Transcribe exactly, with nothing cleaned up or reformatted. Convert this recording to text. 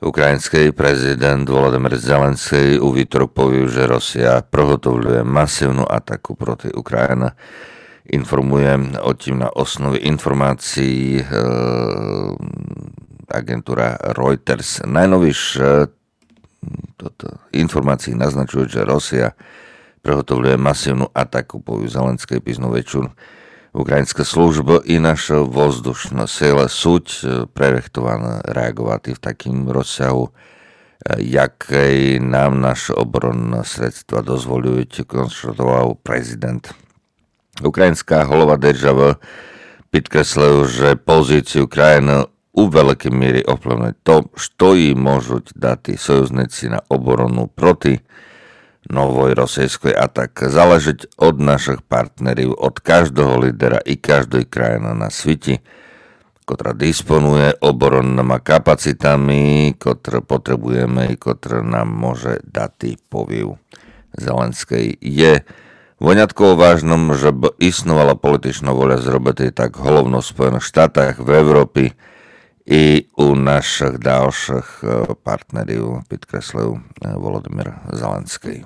Україньскый президент Володимир Зеленьскый у вівторок повів, же Росія приготовлює масивну атаку проти Україны. Інформує о тім на основі інформацій е, агентура Reuters. Найновіші тото, інформації назначують, же Росія приготовлює масивну атаку, повів Зеленьскый пізно вечур. Україньска служба і наша воздушна сила суть е, прирыхтовані реаґовати в такім розсягу, е, якый нам нашы оборонні средства дозволюють, констатовав президент. Україньска голова державы підкреслив, же позицію Україны у великій мірі овплывнить то, што їй можуть дати союзниці на оборону проти новой російской атакы. Залежить од нашых партнерів, од каждого лідера і каждой країны на світі, котра диспонує оборонныма капацитами, котры потребуєме і котры нам може дати, повів Зеленьскый. Є вынятково важным, жеб існовала політична воля зробити так головно в Споєных Штатах, в Европі і у нашых дальшых е, партнерів, підкреслив е, Володимир Зеленьскый.